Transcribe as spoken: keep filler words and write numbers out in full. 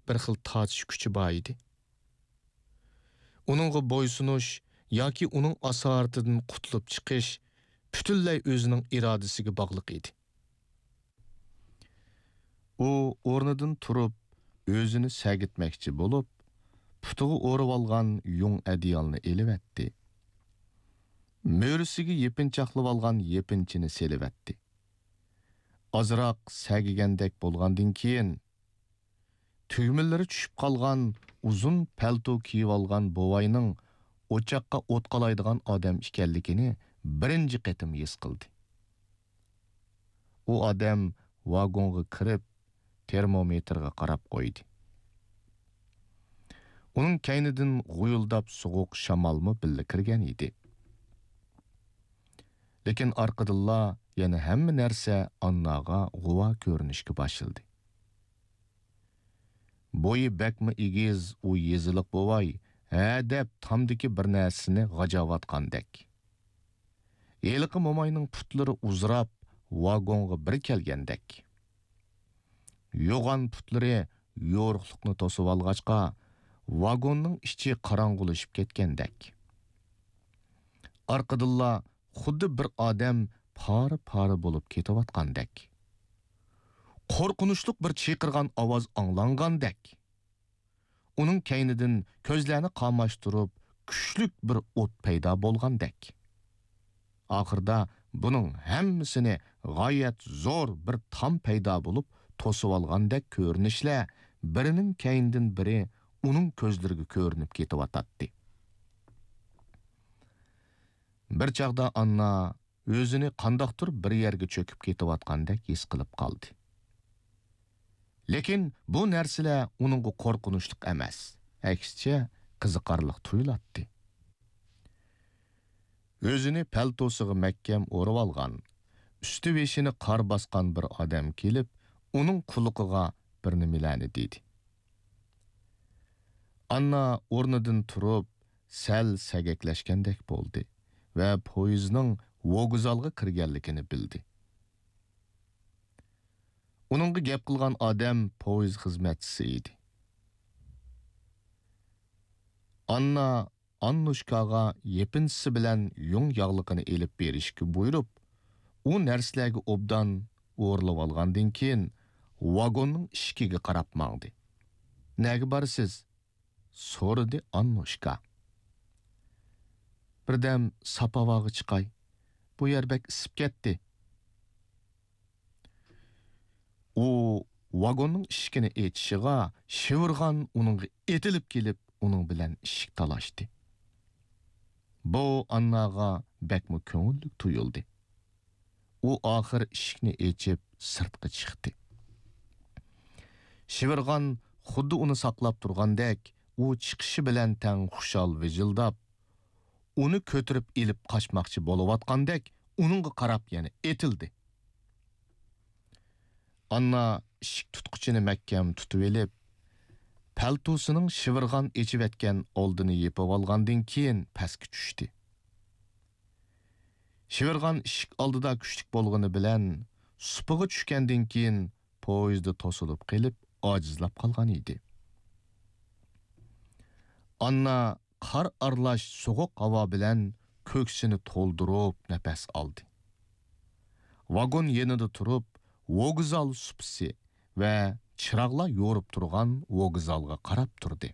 بىر خىل تارتىش كۈچى بار ئىدى. ئۇنىڭغا بويسۇنۇش ياكى ئۇنىڭ ئاسارىتىدىن قۇتۇلۇپ چىقىش پۈتۈنلەي ئۆزىنىڭ ئىرادىسىگە باغلىق ئىدى. ئۇ ئورنىدىن تۇرۇپ، ئۆزىنى سەگىتمەكچى بولۇپ، پۇتىغا ئورىۋالغان يۇڭ ئەدىيالنى ئېلىۋەتتى. مۈرىسىگە يېپىنچاقلىۋالغان يېپىنچىنى سېلىۋەتتى. ئازراق سەگىگەندەك بولغاندىن كېيىن، تۈگمىلىرى چۈشۈپ قالغان ئۇزۇن پەلتو كىيىۋالغان بوۋاينىڭ ئوچاققا ئوت قالايدىغان ئادەم ئىكەنلىكىنى بىرىنچى قېتىم ھېس قىلدى. ئۇ ئادەم ۋاگونغا كىرىپ، تېرمومېتىرغا قاراپ قويدى. ئۇنىڭ كەينىدىن غۇيۇلداپ سوغۇق شامالمۇ بىللە كىرگەن ئىدى. لېكىن ئارقىدىنلا يەنە ھەممە نەرسە ئانناغا غۇۋا كۆرۈنۈشكە باشلىدى. بويى بەكمۇ ئېگىز ئۇ يېزىلىق بوۋاي ھە دەپ تامدىكى بىر نەرسىنى غاجاۋاتقاندەك. ھېلىقى موماينىڭ پۇتلىرى ئۇزىراپ، ۋاگونغا بىر كەلگەندەك. يوغان پۇتلىرى يورۇقلۇقنى توسۇۋالغاچقا، ۋاگوننىڭ ئىچى قاراڭغۇلىشىپ كەتكەندەك. ئارقىدىنلا خۇددى بىر ئادەم پارە-پارە بولۇپ كېتىۋاتقاندەك. قورقۇنچلۇق بىر چىقىرغان ئاۋاز ئاڭلانغاندەك. ئۇنىڭ كەينىدىن كۆزلەرنى قاماشتۇرۇپ، كۈچلۈك بىر ئوت پەيدا بولغاندەك. ئاخىردا بۇنىڭ ھەممىسىنى غايەت زور بىر تام پەيدا بولۇپ توسۇۋالغاندەك كۆرۈنۈشلەر بىرىنىڭ كەينىدىن بىرى ئۇنىڭ كۆزلىرىگە كۆرۈنۈپ كېتىۋاتاتتى. بىر چاغدا ئاننا ئۆزىنى قانداقتۇر بىر يەرگە چۆكۈپ كېتىۋاتقاندەك ھېس قىلىپ قالدى. لېكىن بۇ نەرسىلەر ئۇنىڭغا قورقۇنچلۇق ئەمەس، ئەكسىچە قىزىقارلىق تۇيۇلاتتى. ئۆزىنى پەلتوسىغا مەھكەم ئورىۋالغان، ئۈستى-بېشىنى قار باسقان بىر ئادەم كېلىپ، ئۇنىڭ قۇلىقىغا بىر نېمىلەرنى دېدى. ئاننا ئورنىدىن تۇرۇپ، سەل سەگەكلەشكەندەك بولدى ۋە پويىزنىڭ ۋوگزالغا كىرگەنلىكىنى بىلدى. ئۇنىڭغا گەپ قىلغان ئادەم پويىز خىزمەتچىسى ئىدى. ئاننا ئاننۇشكاغا يېپىنچىسى بىلەن يۇڭ ياغلىقىنى ئېلىپ بېرىشكە بۇيرۇپ، ئۇ نەرسىلەرگە ئوبدان ئورىلىۋالغاندىن كېيىن، ۋاگوننىڭ ئىشىكىگە قاراپ ماڭدى. «نەگە بارىسىز؟» سورىدى ئاننۇشكا. «بىردەم ساپ ھاۋاغا چىقاي. بۇ يەر بەك ئىسسىپ كەتتى.» ئۇ ۋاگوننىڭ ئىشىكىنى ئېچىشىغا، شىۋىرغان ئۇنىڭغا ئېتىلىپ كېلىپ، ئۇنىڭ بىلەن ئىشىك تالاشتى. بۇ ئانناغا بەكمۇ كۆڭۈللۈك تۇيۇلدى. ئۇ ئاخىر ئىشىكنى ئېچىپ، سىرتقا چىقتى. شىۋىرغان خۇددى ئۇنى ساقلاپ تۇرغاندەك، ئۇ چىقىشى بىلەن تەڭ خۇشال ۋىژىلداپ، ئۇنى كۆتۈرۈپ ئېلىپ قاچماقچى بولۇۋاتقاندەك، ئۇنىڭغا قاراپ يەنە ئېتىلدى. ئاننا ئىشىك تۇتقۇچىنى مەھكەم تۇتۇۋېلىپ، پەلتوسىنىڭ شىۋىرغان ئېچىۋەتكەن ئالدىنى يېپىۋالغاندىن كېيىن پەسكە چۈشتى. شىۋىرغان ئىشىك ئالدىدا كۈچلۈك بولغىنى بىلەن، سۇپىغا چۈشكەندىن كېيىن پويىزدا توسۇلۇپ قېلىپ، ئاجىزلاپ قالغان ئىدى. ئاننا قار ئارىلاش سوغۇق ھاۋا بىلەن كۆكسىنى تولدۇرۇپ نەپەس ئالدى. ۋاگون يېنىدا تۇرۇپ، ۋوگزال سۇپىسى ۋە چىراغلار يورۇپ تۇرغان ۋوگزالغا قاراپ تۇردى.